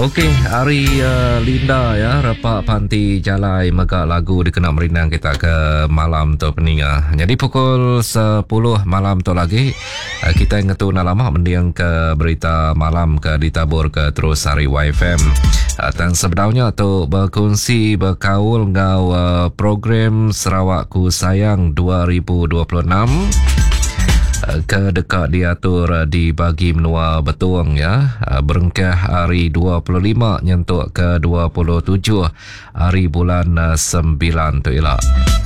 Okey, ari uh, Linda ya, repa panti jalai mega lagu dikena merindang kita ke malam tu peninga. Jadi pukul 10 malam tu lagi uh, kita ngetu enda lama mending ke berita malam ke ditabur ke terus hari YFM. Uh, tang sebedaunya tu berkongsi berkaul enggau uh, program Sarawakku Sayang 2026 ke deka diatur di bagi menua Betong ya berengkah hari 25 nyentuk ke 27 hari bulan 9 tu ila.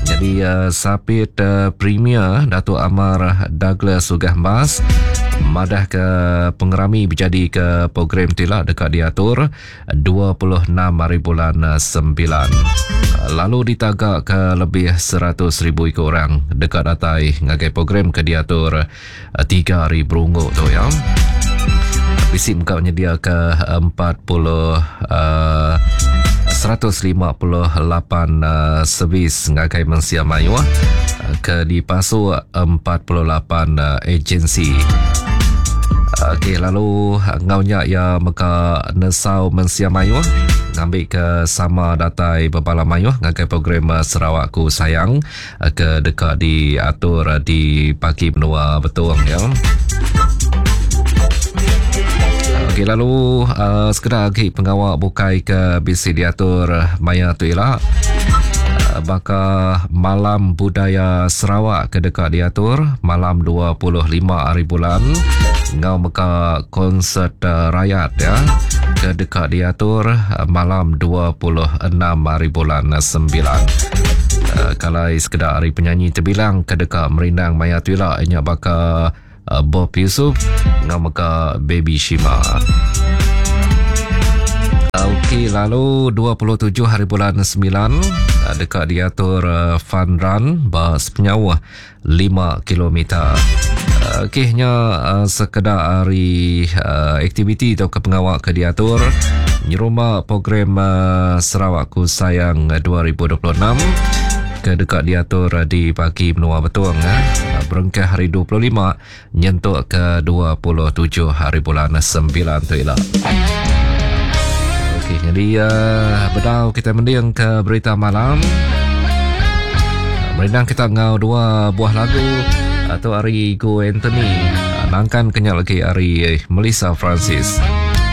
Jadi sapit Premier Datuk Amar Douglas Uggah Embas madah ke pengerami bejadi ke program tu ila deka diatur 26 hari bulan 9. Lalu ditaga ke lebih 100,000 iku orang deka datai ngagai program ke diatur 3 hari berunggu tu ya. Bisi mega nyediaka 40 uh, 158 uh, servis ngagai mensia mayuh ke dipasuk 48 uh, agensi. Okey lalu enggau nya iya mega nesau mensia mayuh ngambika sama datai bebala mayuh ngagai program Sarawakku Sayang ke deka diatur di pagi menua Betong ya. Okey lalu uh, sekeda agi pengawa bukai ke bisi diatur maya tu ila uh, baka Malam Budaya Sarawak ke deka diatur malam 25 hari bulan enggau mega konsert uh, rayat ya ke deka diatur uh, malam 26 hari bulan 9. Uh, kalai sekeda ari penyanyi terbilang ke deka merindang maya tu ila nya baka uh, Bob Yusuf enggau mega Baby Shima. Okey, lalu 27 hari bulan 9 uh, deka diatur uh, fun run ba sepenyauh 5 kilometer. Okey, nya uh, sekeda ari uh, aktiviti atau ke pengawa ke diatur nyerumba program uh, Sarawakku Sayang 2026 ke deka diatur di pagi menua Betong eh. Berengkah hari 25 nyentuk ke 27 hari bulan 9 tu ila. Okey, jadi uh, bedau kita mending ke berita malam. Merindang kita ngau dua buah lagu atau ari Go Anthony. Nangkan kenyal lagi ari Melissa Francis.